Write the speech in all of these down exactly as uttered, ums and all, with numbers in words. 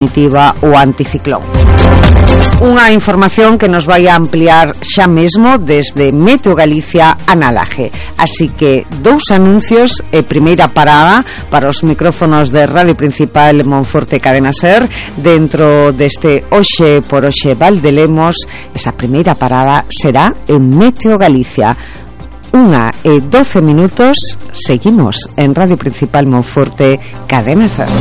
definitiva o anticiclón. Unha información que nos vai a ampliar xa mesmo desde Meteo Galicia a Nalaje. Así que dous anuncios e primeira parada para os micrófonos de Radio Principal Monforte Cadena Ser dentro deste Oxe por Oxe Valdelemos. Esa primeira parada será en Meteo Galicia. Unha e doce minutos, seguimos en Radio Principal Monforte Cadena Ser.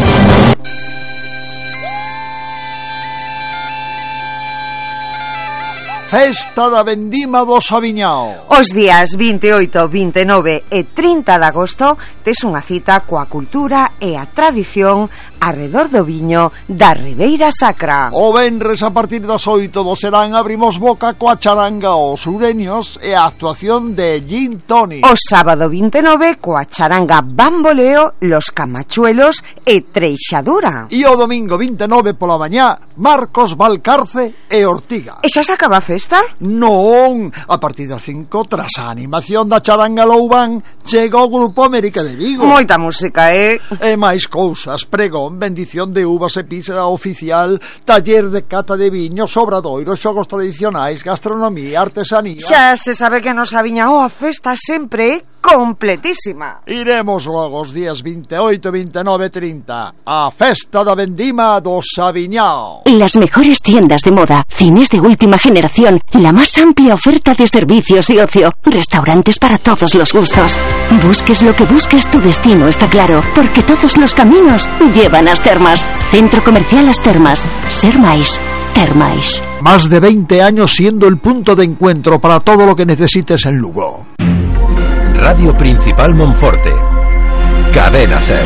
Festa da Vendima do Saviñao. Os días vinte e oito, vinte e nove e trinta de agosto tes unha cita coa cultura e a tradición arredor do viño da Ribeira Sacra. O venres a partir das oito do serán abrimos boca coa charanga Os Ureños e a actuación de Gin Tonic. O sábado vinte e nove coa charanga Bamboleo, Los Camachuelos e Treixadura. E o domingo vinte e nove pola mañá Marcos Valcarce e Ortiga. E xa se acaba a festa? Non, a partir das cinco, tras a animación da charanga Loubán, chega o Grupo América de Vigo. Moita música, eh? E máis cousas, pregón, bendición de uvas e pizza oficial, taller de cata de viños, obradoiros, xogos tradicionais, gastronomía, artesanía. Xa se sabe que nos Saviñao a festa sempre é completísima. Iremos logo os días vinte e oito, vinte e nove e trinta a Festa da Vendima do Saviñao. Las mejores tiendas de moda, cines de última generación, la más amplia oferta de servicios y ocio, restaurantes para todos los gustos. Busques lo que busques, tu destino está claro, porque todos los caminos llevan a As Termas. Centro Comercial As Termas. Ser máis, ter máis. Más de veinte años siendo el punto de encuentro para todo lo que necesites en Lugo. Radio Principal Monforte. Cadena Ser.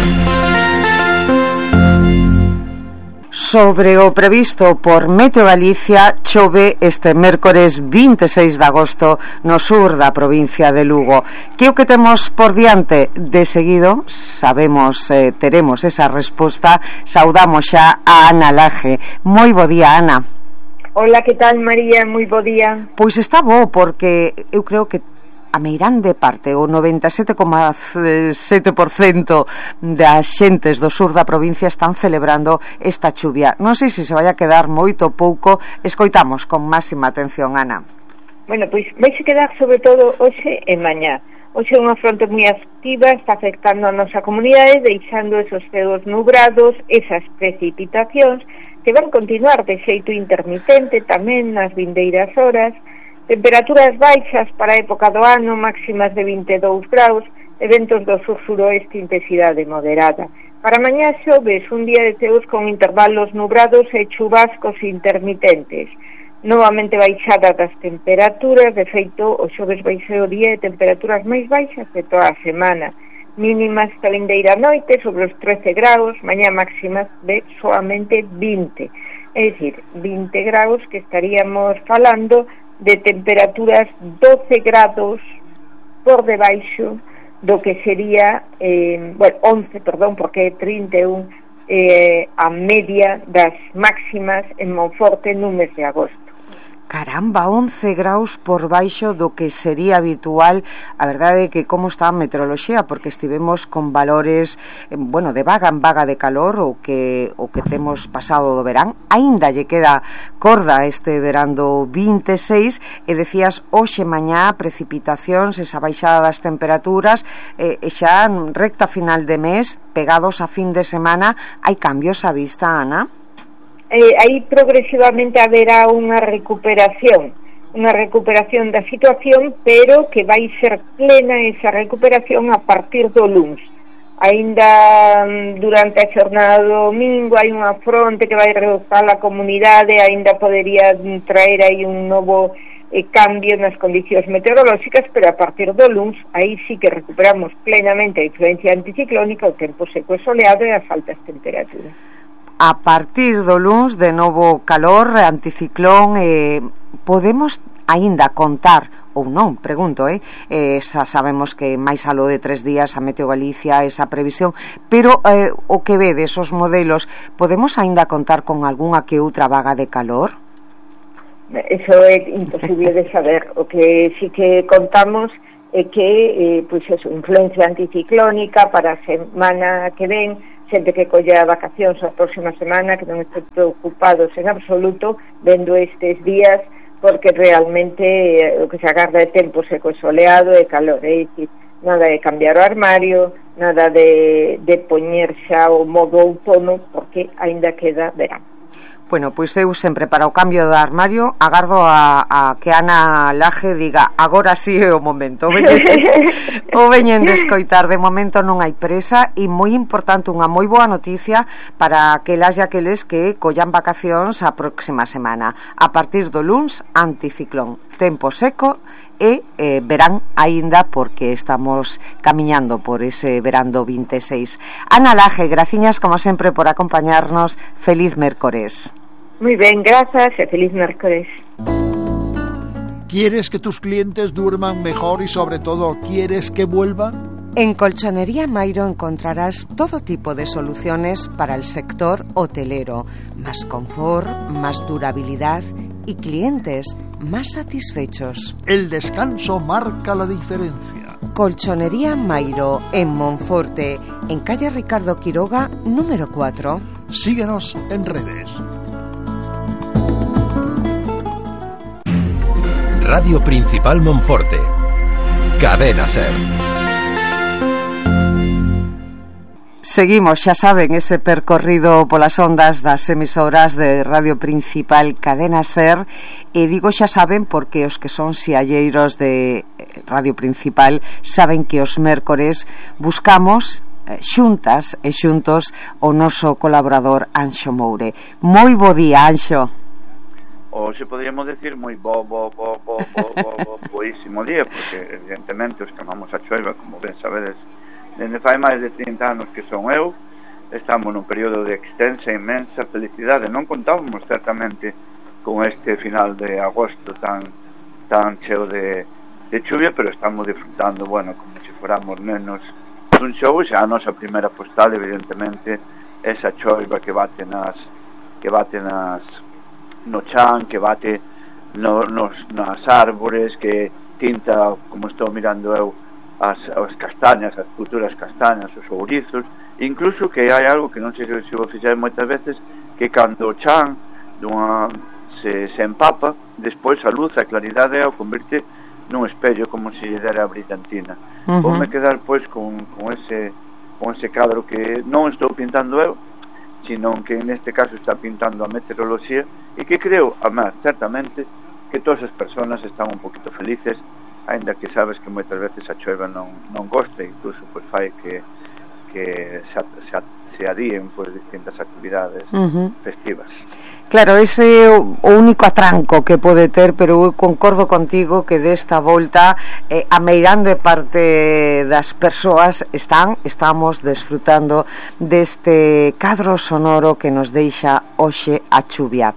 Sobre o previsto por Meteo Galicia, chove este mércores vinte e seis de agosto no sur da provincia de Lugo. Que o que temos por diante? De seguido, sabemos, eh, teremos esa resposta. Saudamos xa a Ana Laje. Moi bo día, Ana. Hola, que tal, María? Moi bo día. Pois está bo, porque eu creo que a meirande parte, o noventa e sete coma sete por cento das xentes do sur da provincia están celebrando esta chuvia. Non sei se se vai a quedar moito ou pouco. Escoitamos con máxima atención, Ana. Bueno, pois vai se quedar sobre todo hoxe e mañá. Hoxe é unha fronte moi activa, está afectando a nosa comunidade, deixando esos ceos nubrados, esas precipitacións que van continuar de xeito intermitente tamén nas vindeiras horas. Temperaturas baixas para a época do ano, máximas de vinte e dous graus, e ventos do sur-suroeste, intensidade moderada. Para mañá xoves, un día de ceos con intervalos nubrados e chubascos intermitentes. Novamente baixada das temperaturas, de feito, o xoves vai ser o día de temperaturas máis baixas de toda a semana. Mínimas esta vindeira noite sobre os trece graus, mañá máximas de soamente vinte. É dicir, vinte graus que estaríamos falando de temperaturas doce grados por debaixo do que sería eh, bueno, once, perdón, porque é trinta e un eh, a media das máximas en Monforte no mes de agosto. Caramba, once graus por baixo do que sería habitual. A verdade é que como está a meteoroloxía, porque estivemos con valores, bueno, de vaga en vaga de calor, o que o que temos pasado do verán. Aínda lle queda corda este verán do vinte e seis, e decías hoxe mañá precipitacións, esa baixada das temperaturas, e, e xa recta final de mes, pegados a fin de semana, hai cambios á vista, Ana? Eh, aí progresivamente haberá unha recuperación unha recuperación da situación, pero que vai ser plena esa recuperación a partir do luns. Aínda durante a xornada do domingo hai unha fronte que vai reduzar a comunidade, aínda podería traer aí un novo eh, cambio nas condicións meteorolóxicas, pero a partir do luns aí sí que recuperamos plenamente a influencia anticiclónica, o tempo seco e soleado e as altas temperaturas. A partir do luns, de novo calor, anticiclón, eh, podemos aínda contar, ou non, pregunto, eh, eh xa sabemos que máis aló de tres días a Meteo Galicia esa previsión, pero eh, o que ve desos modelos, podemos aínda contar con algunha que outra vaga de calor? Eso é imposible de saber. O que sí que contamos é que eh, pois eso, influencia anticiclónica para a semana que ven xente que colla vacacións a próxima semana, que non estén preocupados en absoluto vendo estes días, porque realmente eh, o que se agarda é tempo seco e soleado e calor, é dicir, nada de cambiar o armario, nada de, de poñer xa o modo outono, porque aínda queda verán. Bueno, pois eu sempre para o cambio de armario agardo a, a que Ana Laje diga agora sí é o momento. O veñen, o veñen de escoitar, de momento non hai presa, e moi importante, unha moi boa noticia para aquelas e aqueles que collan vacacións a próxima semana. A partir do luns, anticiclón, tempo seco e eh, verán aínda, porque estamos camiñando por ese verán do vinte e seis. Ana Laje, graciñas como sempre por acompañarnos. Feliz mércores. Muy ben, grazas e feliz mércores. ¿Quieres que tus clientes duerman mejor y sobre todo quieres que vuelvan? En Colchonería Mairo encontrarás todo tipo de soluciones para el sector hotelero, más confort, más durabilidad y clientes más satisfechos. El descanso marca la diferencia. Colchonería Mairo en Monforte, en calle Ricardo Quiroga, número cuatro. Síguenos en redes. Radio Principal Monforte. Cadena Ser. Seguimos, xa saben, ese percorrido polas ondas das emisoras de Radio Principal Cadena Ser, e digo xa saben porque os que son sialleiros de Radio Principal saben que os mércores buscamos xuntas e xuntos o noso colaborador Anxo Moure. Moi bo día, Anxo. Ou se poderíamos decir moi bo, bo, bo, bo, bo, bo, bo, boísimo día, porque evidentemente os que amamos a choiva, como ben sabedes, dende fai máis de trinta anos que son eu, estamos nun período de extensa e inmensa felicidade. Non contábamos certamente con este final de agosto tan tan cheo de, de chuvia, pero estamos disfrutando, bueno, como se fóramos nenos dun show. Xa a nosa primeira postal, evidentemente, esa choiva que bate nas que bate nas no chan, que bate no, nos, nas árbores, que tinta, como estou mirando eu, as, as castañas, as futuras castañas, os ourizos, incluso que hai algo que non sei se o fixei moitas veces, que cando o chan dunha, se, se empapa, despois a luz, a claridade o converte nun espello, como se lle dera a brillantina. Uh-huh. Voume quedar pois con, con ese con ese cadro que non estou pintando eu, sino que neste caso está pintando a meteoroloxía, e que creo, además, certamente, que todas as persoas están un poquito felices, aínda que sabes que moitas veces a choiva non, non gosta, incluso pois fai que, que se, se, se adíen pois distintas actividades uh-huh. festivas. Claro, ese é o único atranco que pode ter, pero eu concordo contigo que desta volta eh, a meirande parte das persoas están, estamos desfrutando deste cadro sonoro que nos deixa hoxe a chuvia.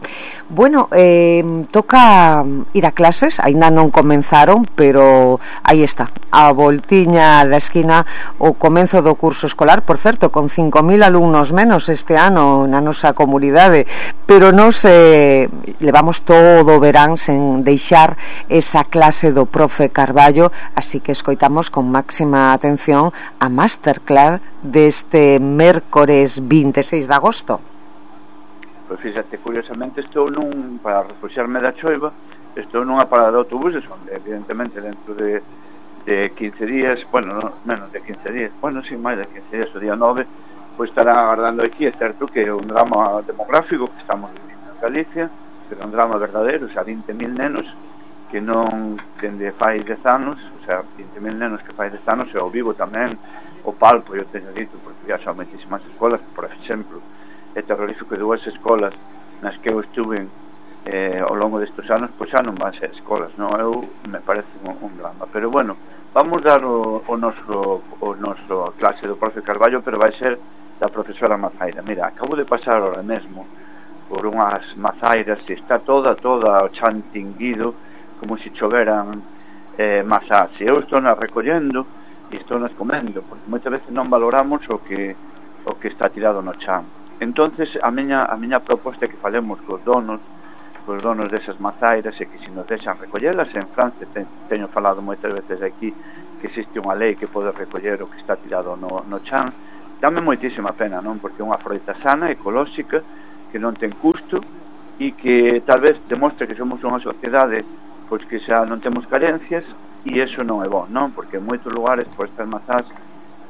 Bueno, eh, toca ir a clases, aínda non comenzaron, pero aí está, a voltiña da esquina o comenzo do curso escolar, por certo, con cinco mil alumnos menos este ano na nosa comunidade, pero non Nos eh, levamos todo o verán sen deixar esa clase do profe Carballo, así que escoitamos con máxima atención a masterclass deste mércores vinte e seis de agosto. Pois fíxate, curiosamente estou nun, para refuxiarme da choiva, estou nunha parada de autobuses onde evidentemente dentro de, de quince días, bueno, no, menos de quince días, bueno, sin máis de quince días, o día nove, pois estarán agardando aquí. É certo que é un drama demográfico que estamos vivindo en Galicia, pero un drama verdadeiro, o sea, vinte mil nenos que non dende fai dez anos, o sea, vinte mil nenos que fai dez anos, e ao vivo tamén o palpo, eu teño dito, porque já son moitísimas escolas, por exemplo, é terrorífico, dúas escolas nas que eu estuve eh, ao longo destes anos, pois xa non van ser escolas, non? Eu me parece un, un drama, pero bueno, vamos dar o, o noso o noso clase do profe Carballo, pero vai ser da profesora Mazaira. Mira, acabo de pasar ahora mesmo por unhas mazairas e está toda, toda o chan tinguido como se choveran eh, mazás, e eu estou nas recollendo e estou nas comendo, porque moitas veces non valoramos o que o que está tirado no chan. Entonces a miña, a miña proposta é que falemos cos donos cos donos desas mazairas e que se nos deixan recollelas. En Francia te, teño falado moitas veces aquí que existe unha lei que pode recoller o que está tirado no, no chan, dame moitísima pena, non? Porque é unha froita sana, ecolóxica, que non ten custo e que tal vez demostra que somos unha sociedade pois que xa non temos carencias, e iso non é bom, non? Porque en moitos lugares por estas mazás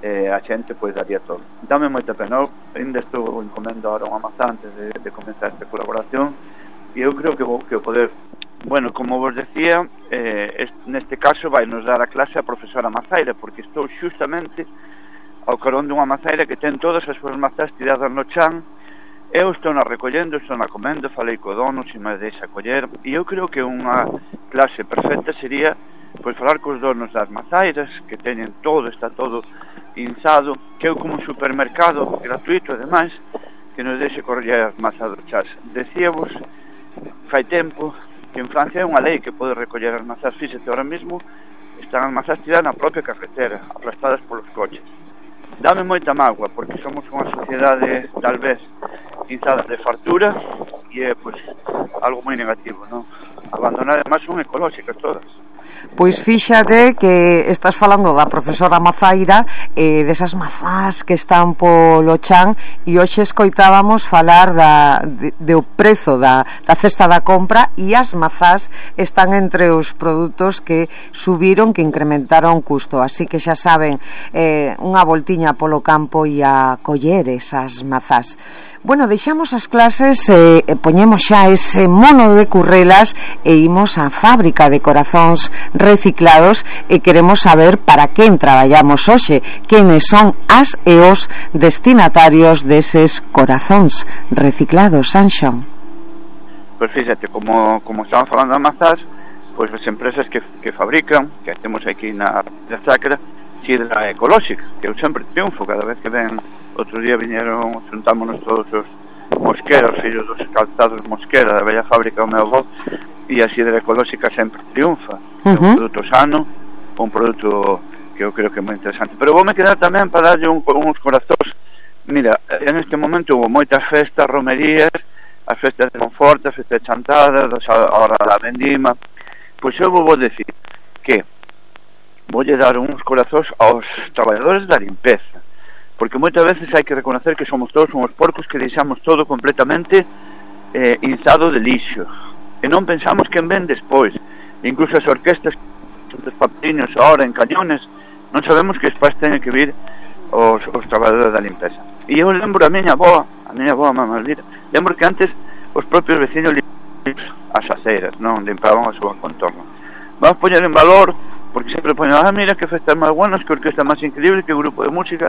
eh, a xente pois daría todo. Dame moita pena. Eu ainda estou encomendo ahora unha mazá antes de, de comenzar esta colaboración, e eu creo que, que o poder, bueno, como vos decía, eh, este, neste caso vai nos dar a clase a profesora Mazaira, porque estou xustamente ao carón dunha mazaira que ten todas as súas mazás tiradas no chan. Eu estou na recollendo, estou na comendo, falei co dono, se me deixa coller, e eu creo que unha clase perfecta sería pois falar cos donos das mazairas, que teñen todo, está todo inzado, que eu como un supermercado gratuito, ademais, que nos deixe coller as mazas do chas. Decíavos, fai tempo, que en Francia é unha lei que pode recoller as mazás. Fíxate, ahora mismo están as mazás tiradas na propia carretera, aplastadas polos coches. Dame moita mágoa, porque somos unha sociedade tal vez inzada de fartura, e é pois algo moi negativo, non? Abandonar, además son ecolóxicas todas. Pois fíxate que estás falando da profesora Mazaira, eh, desas mazás que están polo chan, e hoxe escoitábamos falar da, de, de o prezo da, da cesta da compra, e as mazás están entre os produtos que subiron, que incrementaron custo, así que xa saben, eh, unha voltiña polo campo e a coller esas mazás. Bueno, deixamos as clases, eh, poñemos xa ese mono de currelas e imos á fábrica de corazóns reciclados, e queremos saber para quen traballamos hoxe, quenes son as e os destinatarios deses corazóns reciclados, Anxo. Pois fíxate, como, como estaban falando de mazás, pois as empresas que, que fabrican, que temos aquí na, na Sacra, sidra ecolóxica, que eu sempre triunfo cada vez que ven. Outro día viñeron, xuntámonos todos os Mosquera, os fillos dos calzados Mosquera, da bella fábrica do meu avó, e a sidra ecolóxica sempre triunfa. Uh-huh. É un produto sano, un produto que eu creo que é moi interesante. Pero vou me quedar tamén para darlle un, uns corazóns. Mira, en este momento hubo moitas festas, romerías, as festas de Monforte, as festas de Chantada, ahora a vendima. Pois eu vou decir que voulle dar uns corazóns aos traballadores da limpeza, porque moitas veces hai que reconocer que somos todos uns porcos que deixamos todo completamente eh, inzado de lixo, e non pensamos quen ven despois. Incluso as orquestas dos papeliños ahora en cañones, non sabemos que despois teñen que vir os, os traballadores da limpeza. E eu lembro a miña boa, a miña boa mamá maldita, lembro que antes os propios vecinos limpaban as aceiras, non limpaban a súa contorno. Vamos poñer en valor, porque sempre poñen, ah, mira que festas máis buenas, que orquesta máis increíble, que grupo de música,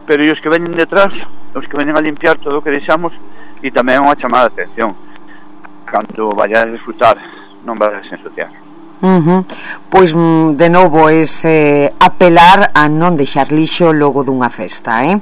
pero e os que veñen detrás, os que veñen a limpiar todo o que deixamos, e tamén unha chamada de atención. Cando vaya a disfrutar, non vai a ensuciar. Uh-huh. Pois de novo ese apelar a non deixar lixo logo dunha festa, eh?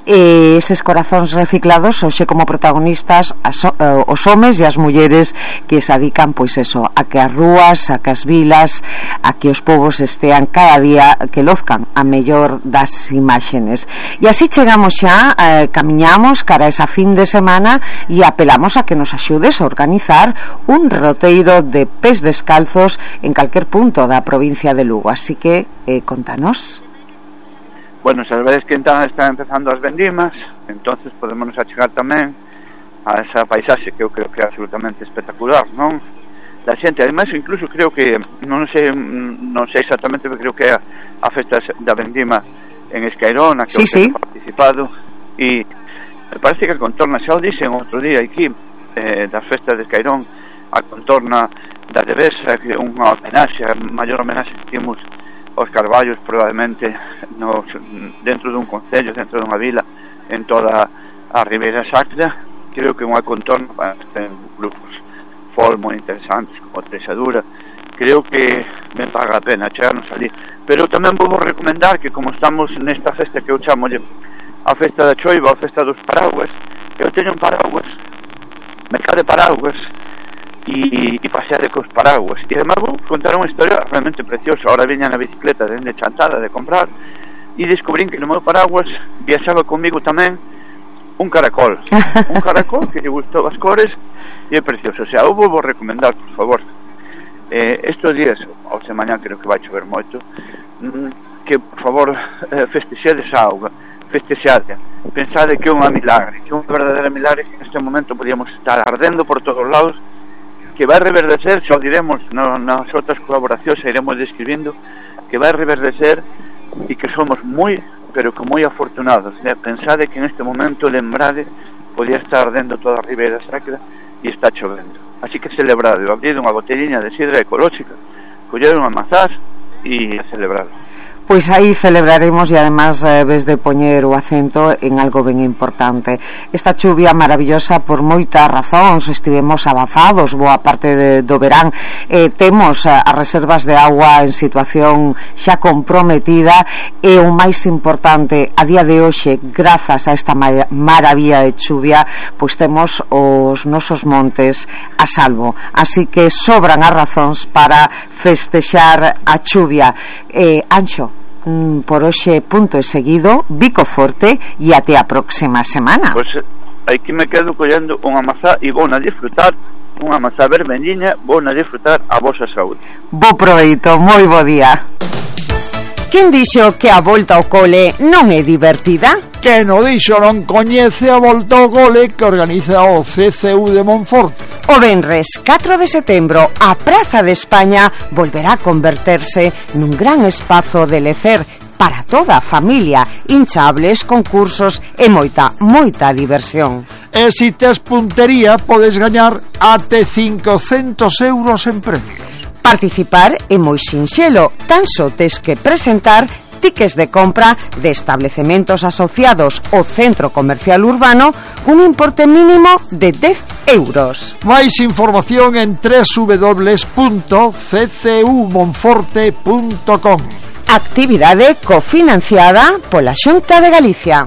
E eses corazóns reciclados hoxe como protagonistas as, uh, os homes e as mulleres que se adican pois eso, a que as rúas, a que as vilas, a que os povos estean cada día, que lozcan a mellor das imaxenes. E así chegamos xa, eh, camiñamos cara a esa fin de semana e apelamos a que nos axudes a organizar un roteiro de pés descalzos en calquer punto da provincia de Lugo, así que eh, contanos. Bueno, sabedes que entón están empezando as vendimas, entonces podemos achegar tamén a esa paisaxe que eu creo que é absolutamente espectacular, non? Da xente, ademais, incluso creo que non sei, non sei exactamente, pero creo que é a festa da vendima en Escairón, a que sí, eu sí. He participado, e me parece que a contorna, xa o dixen outro día aquí, eh, das festas de Escairón, a contorna da Devesa, que é unha homenaxe, a maior homenaxe que temos aos carballos probablemente nos, dentro dun concello, dentro dunha vila, en toda a Ribeira Sacra. Creo que unha contorna para ter grupos folk moi interesantes como Trexadura. Creo que me paga a pena chegarnos ali, pero tamén vou recomendar que como estamos nesta festa que eu chamo a festa da choiva, a festa dos paraguas, eu teño un paraguas, mercado de paraguas, e, e pasear cos paraguas, e además vou contar unha historia realmente preciosa. Ahora viña na bicicleta dende Chantada de comprar e descubrín que no meu paraguas viaxaba comigo tamén un caracol un caracol que lle gustou as cores e é precioso. O sea, eu vou recomendar, por favor, eh, estes días, ao semañán creo que vai chover moito, que por favor eh, festexedes a auga, festexarla. Pensade que é unha milagre, que é unha verdadeira milagre, que neste momento podíamos estar ardendo por todos lados, que vai reverdecer, xa o diremos no, nas outras colaboracións, xa iremos describindo, que vai reverdecer e que somos moi, pero que moi afortunados, né? Pensade que neste momento, lembrade, podía estar ardendo toda a Ribeira Sacra e está chovendo. Así que celebrado, abrir unha botellina de sidra ecolóxica, coller unha mazás e celebrado. Pois aí celebraremos e además eh, ves de poñer o acento en algo ben importante. Esta chuvia maravillosa por moitas razóns, estivemos avanzados boa parte de, do verán, eh, temos eh, as reservas de agua en situación xa comprometida e o máis importante a día de hoxe, grazas a esta mar maravilla de chuvia, pois temos os nosos montes a salvo, así que sobran as razóns para festexar a chuvia. eh, Anxo, por hoxe punto e seguido, bico forte e até a próxima semana. Pois aquí me quedo collendo unha mazá e vou na disfrutar, unha mazá vermelliña, vou na disfrutar a vosa saúde. Bo proveito, moi bo día. Quen dixo que a volta ao cole non é divertida? Que no dixo non coñece a volta ao cole que organiza o C C U de Monforte. O venres catro de setembro a Praza de España volverá a converterse nun gran espazo de lecer para toda a familia, hinchables, concursos e moita, moita diversión. E se tes puntería podes gañar até cincocentos euros en premios. Participar é moi sinxelo, tan só tes que presentar tickets de compra de establecementos asociados ao centro comercial urbano un importe mínimo de dez euros. Máis información en doble u doble u doble u punto c c u monforte punto com. Actividade cofinanciada pola Xunta de Galicia.